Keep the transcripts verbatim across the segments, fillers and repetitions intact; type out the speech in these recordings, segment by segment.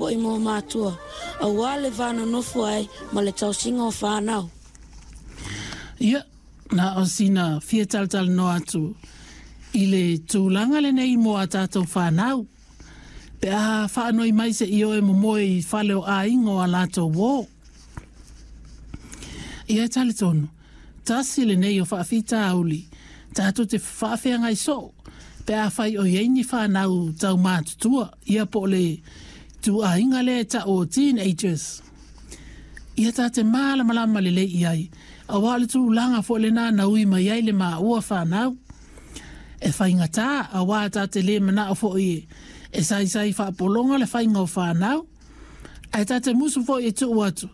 Foi mo matua, aua le va nonofo ai ma le tausiga o fanau. Ia, na o sina fia talatalanoa atu i le tulaga lenei mo a tatou fanau. Pe a faanoi mai se'i o e momoe i fale o aiga o a latou uō. Ia e talitonu, tasi lenei o faafitauli tatou te faafeagai soo pe afai o i ai ni fanau taumatutua, ia po o le ituaiga lea e tau o teenagers. Ia ta te malamalama lelei i ai, aua o le tulaga foi lena na ui mai ai le maua fanau. E faigata, aua ta te le manao foi e saisai faapologa le faiga o fanau, ae ta te musu foi e tuu atu,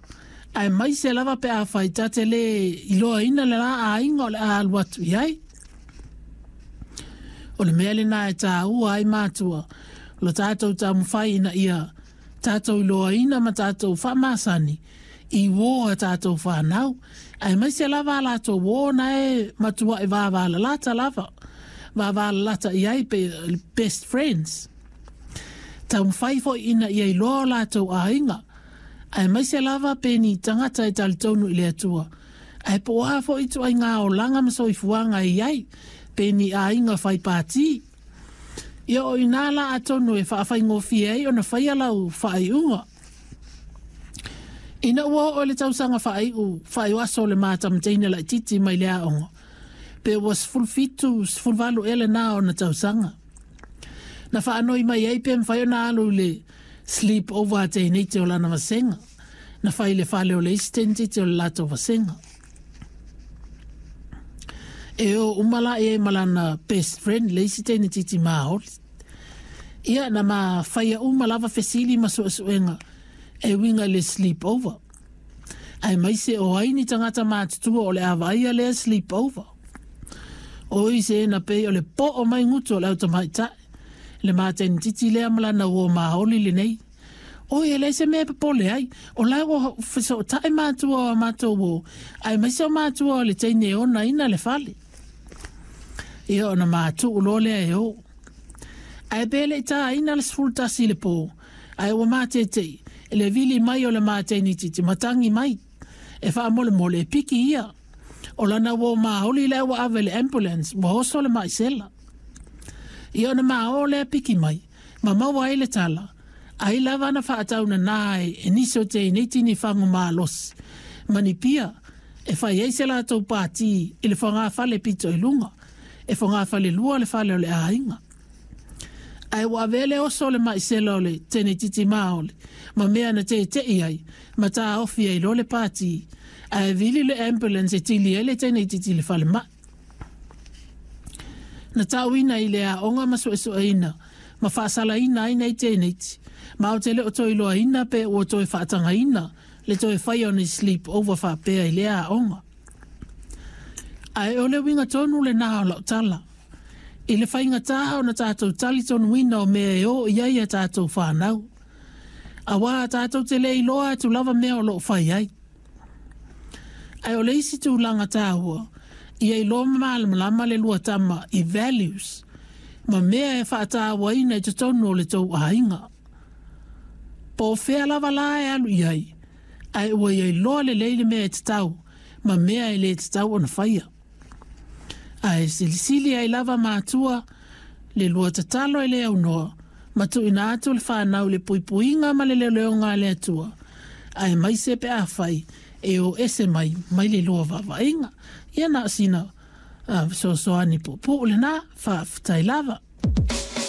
aemaise lava pe afai ta te le iloaina le la aiga o le a alu atu i ai. O le mea lena e taua ai matua, lo tatou taumafai ina ia tatou iloaina ma tatou faamasani i uō a tatou fanau, aemaise lava a latou uō na e matuai vavalalata lava, vavalalata i ai pe best friends. Taumafai foi ina ia iloa o latou aiga, aemaise lava pe ni tagata e talitonu i le Atua, ae po o a foi ituaiga olaga ma soifuaga e i ai, pe ni aiga fai pati. Ia o i ina la atonu e faafaigofie ai ona faia lau faaiuga. Ina ua oo i le tausaga faaiu faaiuaso o le ma tamateine laitiiti mai le aoga, pe ua sefulu fitu, sefulu valu ea lena ona tausaga. Na faanoi mai ai pe mafai ona alu i le sleep over a teineiti o lana vasega. Na fai i le fale o le isi teinetiti o le latou vasega. E o uma la i ai ma lana best friend le isi teinetiti maoli. Ia na ma faia uma lava fesili ma suesuega e uiga i le sleep over, aemaise o ai ni tagata matutua o le a vaaia lea sleep over. Oi se na pei o le po'o mai gutu o le au tamaitai le ma teinetiti lea ma lana uō maoli lenei. Oi, e leai se mea e popole ai, o la ua fesootai matua o a matou uō, aemaise o matua o le teine e onaina le fale. Ia ona matuu loa lea e o. Ae pe le i taina le sefulu tasi i le pō, ae ua matete'i i le vili mai o le ma teinetiti ma tagi mai e faamolemole e piki ia. O lana uō maoli lea ua ave i le ambulance ua oso le maisela. Ia ona ma o lea piki mai, ma maua ai le tala, ai lava na faataunanā ai e nisi o teineiti ni fagu malosi ma ni pia e fai ai se latou pati i le fogafale pito i luga, e fogafale lua le fale o le aiga. Ae ua avea le oso o le maisela o le teinetiti maoli ma mea na tete'i ai ma taofi ai loa le pati, ae vili le ambulance e tili ai le teinetiti i le falemai. Na tauina i le aoga ma suesueina ma faasalaina ai nei teineiti, ma ou te le o toe iloaina pe ua toe faatagaina le toe faia o ni sleep over faapea i lea aoga. Ae o le uiga tonu lena o lau tala, i le faigata ona tatou talitonuina o mea e o i ai a tatou fanau, aua tatou te le iloa atu lava mea o loo fai ai. Ae o le isi tulaga taua, ia iloa ma malamalama le lua tama i values ma mea e faatauaina i totonu o le tou aiga. Po o fea lava la e alu i ai, ae ua ia iloa lelei le mea e tatau ma mea e le tatau ona faia. Ae silisili ai lava matua le lua tatalo e le aunoa ma tuuina atu le fanau i le puipuiga ma le leoleoga a le Atua, aemaise pe afai e o ese mai mai le lua vaavaaiga. Ia na o sina fesoasoani puupuu lena, faafetai lava.